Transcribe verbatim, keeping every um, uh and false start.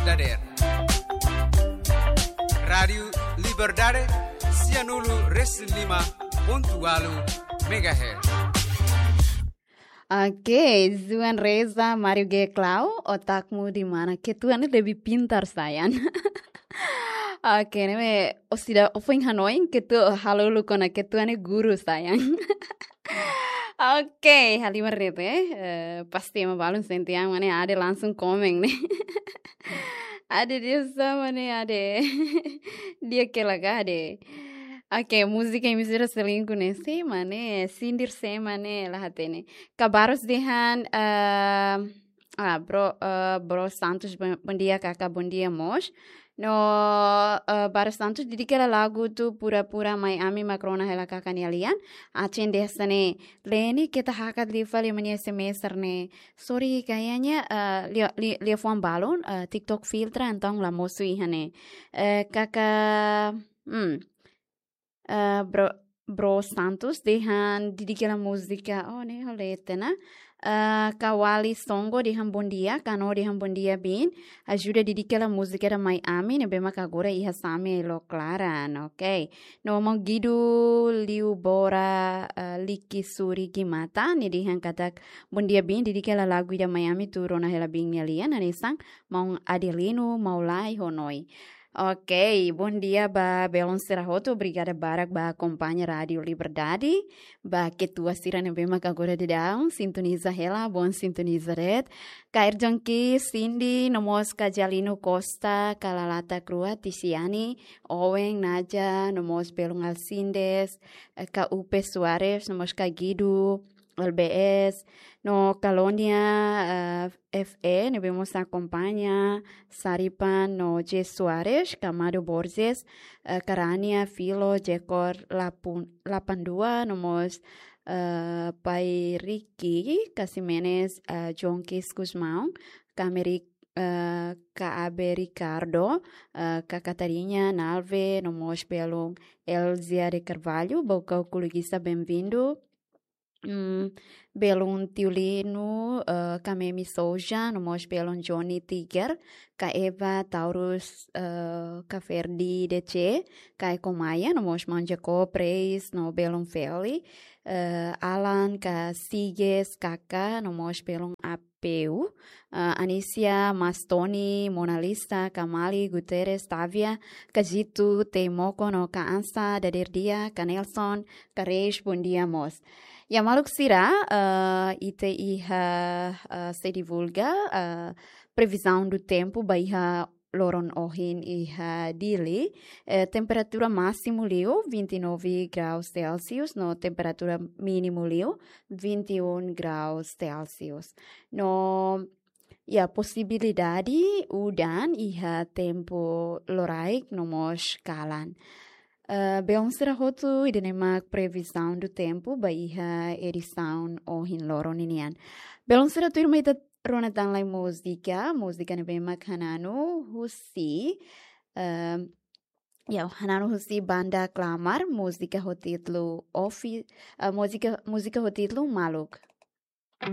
dadeer. Rádiu Liberdade, sianulu resin lima pontu ualu megahertz. Oke, Zuan Reza, Mario G Clau, otakmu di mana? Ketua ne'e lebih pintar, sayang. Oke, ne'e, o sida, o foin hanoin, ketua, halo lu kona ketua ne'e guru, sayang. Oke, halimar ne'e, eh, pasti ema balun sente an, mane ade langsung komen ne'e. Ade dia sama ne'e, ade. Dia ke laga ade. Oke, múzika imi sira selingkuh ne'e, sé mak ne'e, sindir sé mak ne'e, la hatene. Ka Barros dehan, eh, ah, bro, eh, bro Santos, bon, bondia, kaka, bondia mós. No, eh, Barros Santos, didik hela lagu atu pura-pura mai ami mak rona hela kaka nia lian. Atin dehan hanesan ne'e, Leni, keta hakat liu fali ema nia S M S ne'e. Sorry, kayaknya, eh, lia, lia, lia fuan balun, eh, TikTok filtra, entaun la mosu iha ne'e. Eh, kaka, hmm, eh, bro, bro Santos dehan didik hela múzika. Oh, ne'e hole tena. Eh, Kawali Songo dehan bondia, Kano dehan bondia bin. Ajuda didik hela múzika ida mai ami, ne'ebé mak agora iha Sami Lo Klaran, oke. No maun Gidu Liu Bora, eh, Liki Suri Gimata, nia dehan katak bondia bin, didik hela lagu ida mai ami atu rona hela bin nia lian, hanesan maun Adelino Maulai Honoi. Oke, bondia ba belun sira hotu, obrigada barak ba akompaña Rádiu Liberdade, ba ketua sira ne'ebé mak agora daudaun sintoniza hela, bom sintoniza de'it. Ka Erjon Ki, Cindy, no mós ka Jalino Costa, ka Lalata Crua, Tisiani, Owen, Naja, no mós belun Alcides, eh, ka Upe Soares, no mós ka Gidu, L B S, no Calonia, eh, F E, ne'ebé mós akompaña, Saripan, no J Soares, ka Amado Borges, eh, Karania, Filo, Jekor, Lapun, Lapandua, no mós, eh, Pai Ricky, ka Ximenes, eh, Jonkis Gusmão, ka Merik, eh, ka Abe Ricardo, eh, ka Catarina, Nalve, no mós belun Elzia de Carvalho, Bocau Kulugisa, bem-vindo. Mm, belun Tiulino, eh, ka Memi Souja, no mós belun Johnny Tiger, ka Eva Taurus, eh, ka Ferdi D C, ka Eko Maia, no mós maun Jacob Reis, no belun Feli, eh, Alan, ka Siges, kaka, no mós belun Apeu, eh, Anisia, Mastoni, Mona Lisa, ka Mali, Guterres, Tavia, ka Jitu, Teimoko, no ka Ansa, Daderdia, ka Nelson, ka Reis, bondia mós. Ya maluk sira, eh, ita iha, eh, sei divulga, eh, previsão do tempo ba iha loron ohin iha Dili, eh, temperatura másimu liu vinte e nove graus Celsius, no temperatura mínimu liu vinte e um graus Celsius. No, ya, posibilidade udan iha tempu loraik no mós kalan. Eh, belun sira hotu, ida-ne'e mak previsão do tempo ba iha edisaun ohin loron ninian. Belun sira, tuirmai ita rona tan lai múzika, múzika ne'ebé mak hananu husi, eh, ya, hananu husi banda Klamar, múzika ho títulu Ofi-, eh, múzika, múzika ho títulu Maluk.